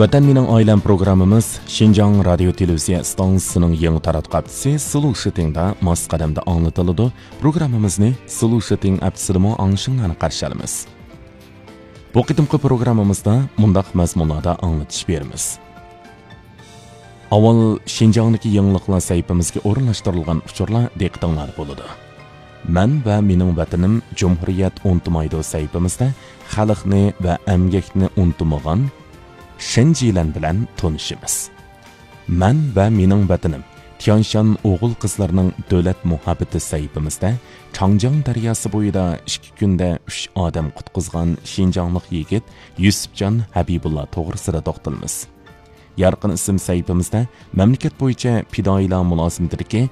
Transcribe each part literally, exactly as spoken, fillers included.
ۋەتەن مېنىڭ ئائىلەم پروگراممىمىز شىنجاڭ رادىيو تېلېۋىزىيە ئىستانسىسىنىڭ يېڭى تاراتقۇ ھەپتىسى سلوشىتىڭدا ماس قەدەمدە ئاڭلىتىلىدۇ. پروگراممىمىزنى سلوشىتىڭ ئەپسىدىمۇ ئاڭلىشىڭلارنى قارشى ئالىمىز. بۇ قېتىمقى پروگراممىمىزدا مۇنداق مەزمۇنلاردا ئاڭلىتىش بېرىمىز. ئاۋۋال شىنجاڭدىكى يېڭىلىقلار سەھىپىمىزگە ئورۇنلاشتۇرۇلغان ئۇچۇرلار دىققىتىڭلاردا بولىدۇ. مەن ۋە مېنىڭ ۋەتىنىم جۇمھۇرىيەت ئۇنتۇمايدۇ سەھىپىمىزدە خەلقنى ۋە ئەمگەكنى ئۇنتۇمىغان شېنجىلەن بىلەن تونۇشىمىز. مەن ۋە مېنىڭ ۋەتىنىم تيانشان ئوغۇل-قىزلىرىنىڭ دۆلەت مۇھەببىتى سەھىپىمىزدە چاڭجياڭ دەرياسى بويىدا ئىككى كۈندە ئۈچ ئادەم قۇتقۇزغان شىنجاڭلىق يىگىت يۈسۈپجان ھەبىبۇللا توغرىسىدا توختىلىمىز. يارقىن ئىسىم سەھىپىمىزدە مەملىكەت بويىچە پىدائىيلار مۇلازىمىتىدىكى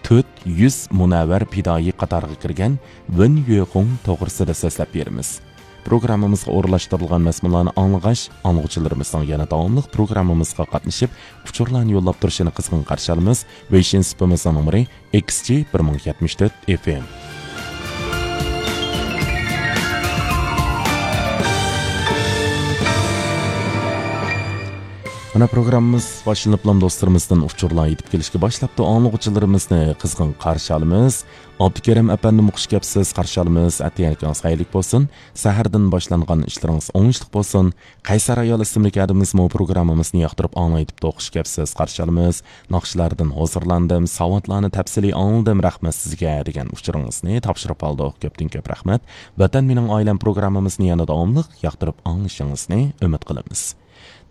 تۆت يۈز مۇنەۋۋەر پىدائىي قاتارىغا كىرگەن ۋېن يۈخۇڭ توغرىسىدا سۆزلەپ بېرىمىز. پروگراممىمىزغا ئورۇنلاشتۇرۇلغان مەزمۇنلارنى ئاڭلىغاچ، ئاڭلىغۇچىلىرىمىزنىڭ يەنە داۋاملىق پروگراممىمىزغا قاتنىشىپ، ئۇچۇرلارنى يوللاپ تۇرۇشىنى قىزغىن قارشى ئالىمىز. ۋېيشىن سېپىمىزنىڭ نومۇرى ئېكس جى بىر مىڭ يەتمىش تۆت ئېف ئېم. مانا پروگراممىمىز باشلىنىپلا دوستلىرىمىزدىن ئۇچۇرلار يېتىپ كېلىشكە باشلاپتۇ. ئاڭلىغۇچىلىرىمىزنى قىزغىن قارشى ئالىمىز. ئابدۇكېرىم ئەپەندىمۇ خۇش كەپسىز، قارشى ئالىمىز. ئەتىگەنلىكىڭىز خەيرلىك بولسۇن. سەھەردىن باشلانغان ئىشلىرىڭىز ئوڭۇشلۇق بولسۇن. قەيسەر ئايال ئىسىملىك ھەدىمىزمۇ پروگراممىمىزنى ياقتۇرۇپ ئاڭلايتىپتۇ، خۇش كەپسىز، قارشى ئالىمىز. ناخشىلاردىن ھۇزۇرلاندىم، ساۋاتلارنى تەپسىلىي ئاڭلىدىم، رەھمەت سىزگە دېگەن ئۇچۇرىڭىزنى تاپشۇرۇپ ئالدۇق. كۆپتىن كۆپ رەھمەت. ۋەتەن مېنىڭ ئائىلەم پروگراممىمىزنى يەنە داۋاملىق ياقتۇرۇپ ئاڭلىشىڭىزنى ئۈمىد قىلىمىز.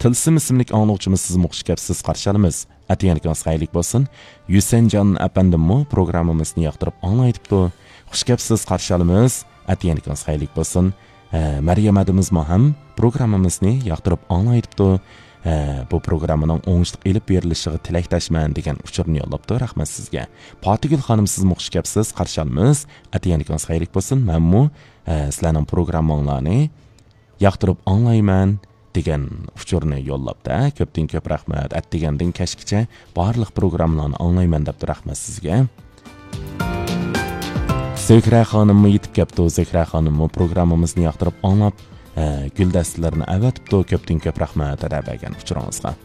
تىلسىم ئىسىملىك ئاڭلىغۇچىمىز سىزمۇ خۇش كەپسىز، قارشى ئالىمىز. ئەتىگەنلىكىڭىز خەيرلىك بولسۇن. يۈسەنجان ئەپەندىممۇ پروگراممىمىزنى ياقتۇرۇپ ئاڭلايتىپتۇ. خۇش كەپسىز، قارشى ئالىمىز. ئەتىگەنلىكىڭىز خەيرلىك بولسۇن. ھە، مەريەم ھەدىمىزمۇ ھەم پروگراممىمىزنى ياقتۇرۇپ ئاڭلايتىپتۇ. ھە، بۇ پروگراممىنىڭ ئوڭۇشلۇق ئېلىپ بېرىلىشىغا تىلەكداشمەن دېگەن ئۇچۇرنى يوللاپتۇ. رەھمەت سىزگە. پاتىگۈل خانىم، سىزمۇ خۇش كەپسىز، قارشى ئالىمىز. ئەتىگەنلىكىڭىز خەيرلىك بولسۇن. مەنمۇ، ھە، سىلەرنىڭ پروگرامماڭلارنى ياقتۇرۇپ ئاڭلايمەن دېگەن ئۇچۇرنى يوللاپتۇ. كۆپتىن كۆپ رەھمەت. ئەتىگەندىن كەچكىچە بارلىق پروگراممىلارنى ئاڭلايمەن دەپتۇ. رەھمەت سىزگە. زۆھرە خانىممۇ يېتىپ كەپتۇ. زۆھرە خانىممۇ پروگراممىمىزنى ياقتۇرۇپ ئاڭلاپ، ھە، گۈلدەستىلىرىنى ئەۋەتىپتۇ. كۆپتىن كۆپ رەھمەت ئەدە بەرگەن ئۇچۇرىڭىزغا.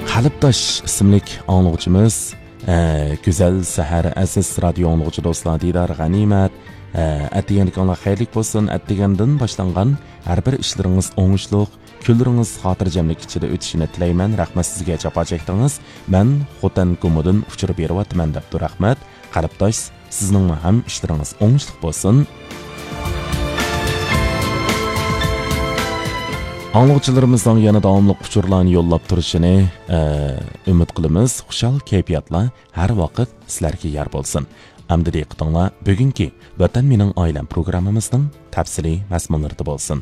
قەلبداش ئىسىملىك ئاڭلىغۇچىمىز، ئە، گۈزەل سەھەر، ئەزىز رادىيو ئاڭلىغۇچى دوستلار، دىدار غەنىيمەت. ئە، ئەتىگەنلىكىڭلار خەيرلىك بولسۇن. ئەتىگەندىن باشلانغان ھەر بىر ئىشلىرىڭىز ئوڭۇشلۇق، كۈنلىرىڭىز خاتىرجەملىك ئىچىدە ئۆتۈشىنى تىلەيمەن. رەھمەت سىزگە، جاپا چەكتىڭىز. مەن خوتەن گۇمىدىن ئۇچۇر بېرىۋاتىمەن دەپتۇ. رەھمەت. قەلبداش، سىزنىڭمۇ ھەم ئىشلىرىڭىز ئوڭۇشلۇق بولسۇن. ئاڭلىغۇچىلىرىمىزنىڭ يەنە داۋاملىق ئۇچۇرلارنى يوللاپ تۇرۇشىنى، ئە، ئۈمىد قىلىمىز. خۇشال كەيپىياتلار ھەر ۋاقىت سىلەرگە يار بولسۇن. ئەمدى دىققىتىڭلار بۈگۈنكى ۋەتەن مېنىڭ ئائىلەم پروگراممىمىزنىڭ تەپسىلىي مەزمۇنلىرىدا بولسۇن.